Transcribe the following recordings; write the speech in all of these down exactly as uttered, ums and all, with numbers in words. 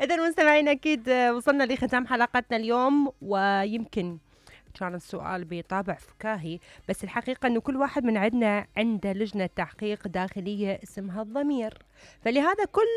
إذا مستمعينا أكيد وصلنا لختام حلقتنا اليوم، ويمكن كان السؤال بطابع فكاهي، بس الحقيقة أنه كل واحد من عندنا عنده لجنة تحقيق داخلية اسمها الضمير. فلهذا كل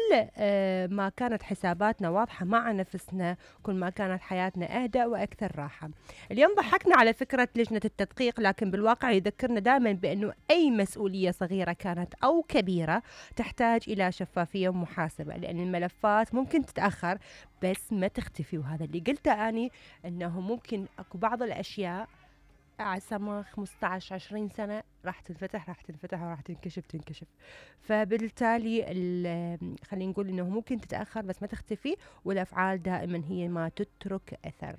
ما كانت حساباتنا واضحة مع نفسنا، كل ما كانت حياتنا أهدأ وأكثر راحة. اليوم ضحكنا على فكرة لجنة التدقيق، لكن بالواقع يذكرنا دائما بأنه أي مسؤولية صغيرة كانت أو كبيرة تحتاج إلى شفافية ومحاسبة، لأن الملفات ممكن تتأخر بس ما تختفي. وهذا اللي قلته أني أنه ممكن أكو بعض الأشياء عسما خمسة عشر عشرين سنة راح تنفتح راح تنفتح وراح تنكشف تنكشف. فبالتالي خلينا نقول أنه ممكن تتأخر بس ما تختفي، والأفعال دائما هي ما تترك أثر.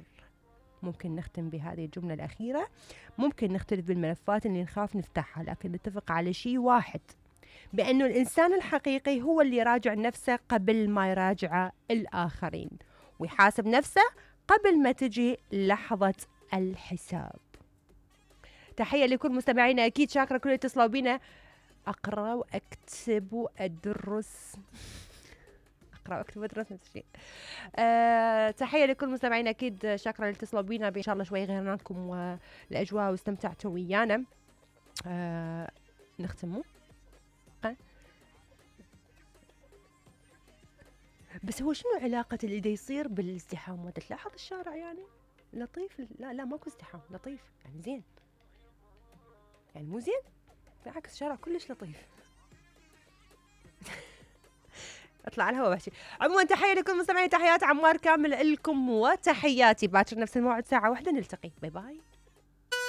ممكن نختم بهذه الجملة الأخيرة. ممكن نختلف بالملفات اللي نخاف نفتحها، لكن نتفق على شيء واحد، بأنه الإنسان الحقيقي هو اللي يراجع نفسه قبل ما يراجع الآخرين، ويحاسب نفسه قبل ما تجي لحظة الحساب. تحية لكل مستمعينا، أكيد شاكرة كل اللي اتصلوا بينا. أقرأ وأكتب وأدرس أقرأ وأكتب وأدرس نفس الشيء. أه تحية لكل مستمعينا، أكيد شاكرة اللي اتصلوا بينا. إن شاء الله شوي غيرنا لكم والأجواء واستمتعتوا ويانا. أه نختموا أه؟ بس هو شنو علاقة اللي دا يصير بالازدحام؟ وتلاحظ الشارع يعني لطيف؟ لا لا ماكو ازدحام، لطيف يعني زين، يعني مو زين، بالعكس الشارع كلش لطيف. اطلع على الهواء بحكي. عموما تحية لكل مستمعين، تحيات عمار كامل لكم وتحياتي. باكر نفس الموعد ساعة واحدة نلتقي. باي باي.